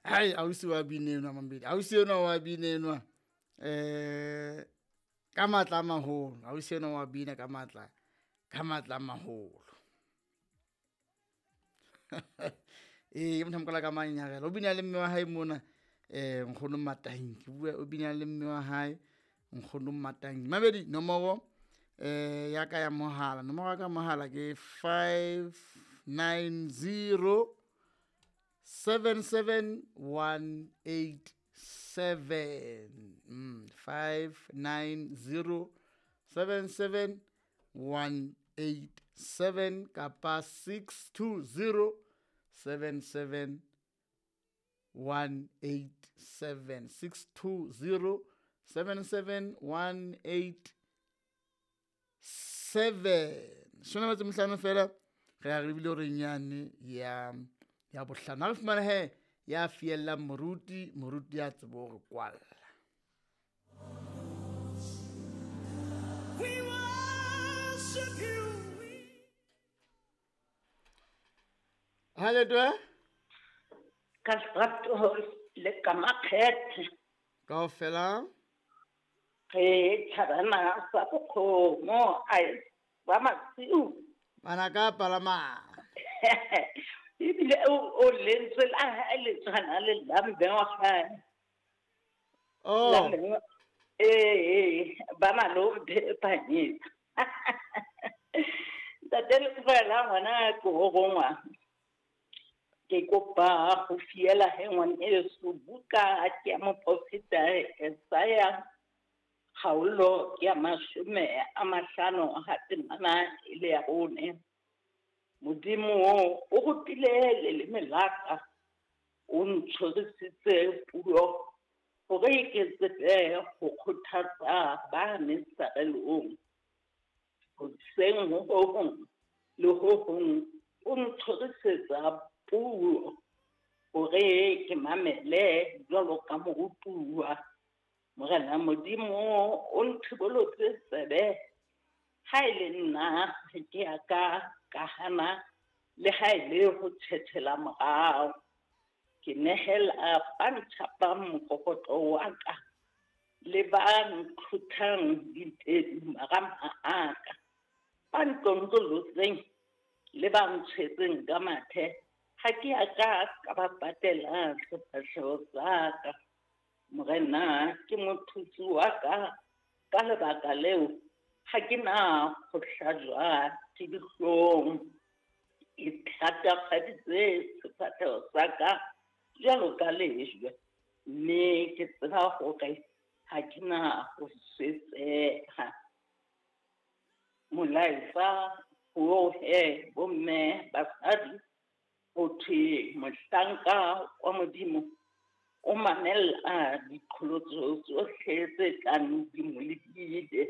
Hai ausi wa bina enwa mamedi, ausi enwa wa bina enwa ka matla a maholo, ausi enwa wa bina ka matla, ka matla a maholo. Ee, ke motho a mokola ka manyarela, o bina le mme wa hae mona, nkgono Matanki, o bua o bina le mme wa hae nkgono Matanki. Mamedi nomoro ya ka ya mohala, nomoro ya ka mohala ke 590 77187. 590 77187 kapa 620 77187, 620 77187. Shona batse mohlano fela re a re bile hore nyane ya ya bohlano. Ha re fumana he ya fiellang moruti, moruti ya tsebo hore kwalla. We worship you. Ha le twe? Ka lerato le ka makgethe. Kaofela? Re tjhabana sa bokgomo, ai, ba masiu. Bana ka palama. Ebile o lentswe la hae le tshwana le la mme wa hae. Oh. La mme wa-, ee, ba malome Phanyetsa. Ntate Lefela ngwana ke ho rongwa. Ke kopa ho fiela he ngwaneso buka ke ya moprofeta Esaya kgaolo ya 50 ha temana e le ya 4. Modimo o rutile leleme la ka, o ntshwarisitse puo hore ke tsebe ho kgothatsa ba mesarelong. Hoseng ho hong le ho hong o ntshwarisetsa puo hore ke mamele jwalo ka morutuwa. Morena Modimo o nthibolotse tsebe, ha e le nna ha ke a ka ka hana le ha e le ho tjhetjhela morao. Ke nehela ba ntjhapang mokokotlo wa ka le ba nqhuthang ditedu marama a ka, ba ntlontlollotse le ba ntshwetseng ka mathe, ha ke a ka ka ba patela sefahleho sa ka. Morena ke mothusi wa ka, ka lebaka leo ha ke na ho hlajwa ke dihlong. Ke thatafaditse sefahleho sa ka jwalo ka lejwe, mme ke tseba hore ha ke na ho swetseha. Molaetsa ho he bomme basadi, ho thwe mohlanka wa Modimo o mamella diqholotso tsohle tse tlang di mo lebile.